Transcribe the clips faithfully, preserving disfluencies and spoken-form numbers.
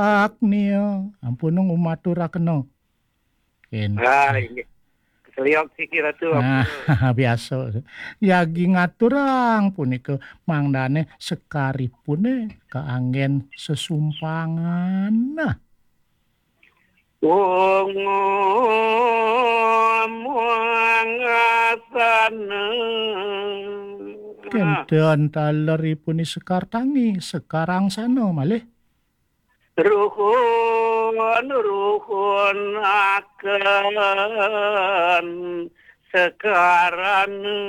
Agnia, ampun ngumaturaken. Ken. Ah, inggih. Keseliok siki Ratu, nah, ampun. Biasa. Yagi ngaturang punika mangdane sekaripune kaanggen sesumpangan. Nah. Wong mangasana. Kenten taleripun sekar tangi, sekarang sana malih. Ruhun, ruhun akan sekarana.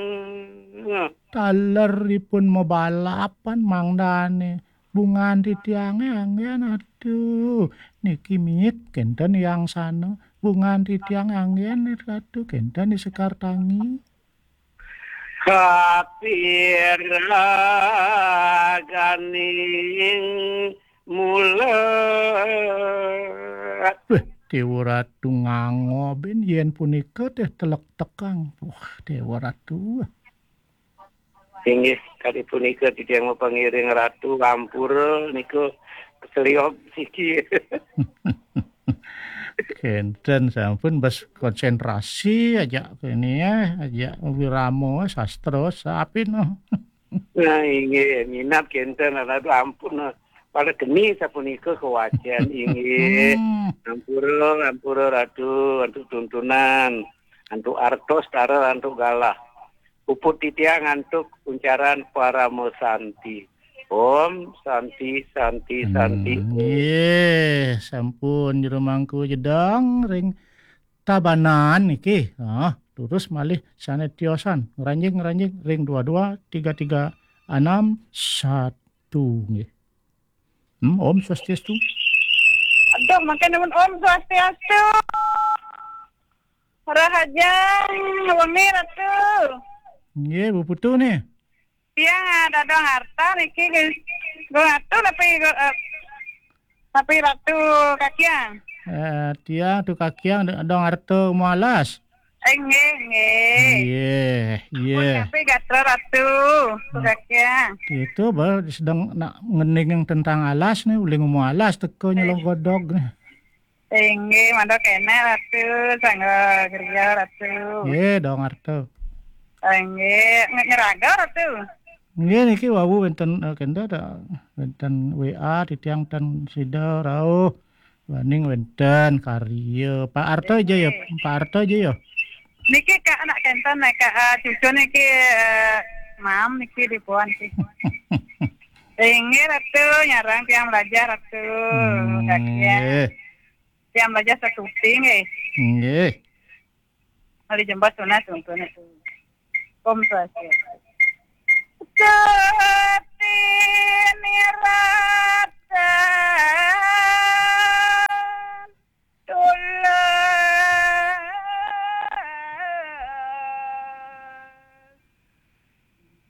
Taleripun mabalapan mangdane. Bungan titiange anggen, aduh. Niki mit kenten yang sana. Bungan titiang anggen, aduh, kenten di sekar tangi. Kapiraganing mula. Weh, Dewa Ratu ngangoben yen punika teh telek tekang. Wah, Dewa Ratu. Inggih, kadi punika titiang mapangiring Ratu, ampura niku keseliok siki. Kenten sampun bas konsentrasi aja kene ya, aja wirama sastra sapi no. Nah, inggih, minat kenten, aduh, ampun, nah. Pada geni sapunika kewacen, inggih. Hmm. Ampura, ampura Ratu, antuk tuntunan, antuk artos, tara, antuk galah. Puput titiang antuk uncaran parama santi. Om Santi, Santi, Santi. Hmm, nggih, sampun Jero Mangku Jedang ring Tabanan niki. Ah, terus malih sane tiosan ngranjing-ngranjing ring dua dua tiga tiga enam satu nggih. Hmm, Om Swastiastu. Aduh, makin nemen Om Swastiastu. Rahajeng wengi, Ratu. Nggih, Bu Putu nih. Tiang, ah, Dadong Arta niki, nggih. Gung Ratu napi, eh, napi Ratu Kakiang? Eh, tiang Tu Kakiang, Dadong Arta Mualas. Eh, nggih, nggih. Nggih, nggih. Pun napi gatra Ratu, Tu Kakiang. Itu baru sedang nak ngening tentang alas nih, uling mau alas teko nyelong godog nih. Inggih, mandok kene, Ratu, sangga kerja, Ratu. Nggih, Dadong Arta. Inggih, nge-, ngeraga, Ratu. Nggih, niki wau wenten, eh, kenda ta, wenten W A titiang ten sida rauh. Waning wenten karya. Pak Arta aja ya, Pak Arta aja ya. Niki Kak anak kenten nih, Kak, ah, cucu niki, eh, mam niki di puan niki. Inggih, Ratu, nyarang tiang belajar, Ratu. Hmm, Kak, ya. Nggih. Tiang belajar satu ping, eh. Nggih. Hari jembat sunat, sunat. Om Swastiastu. Sati niratan tulas.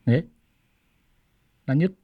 Nggih. Lanjut.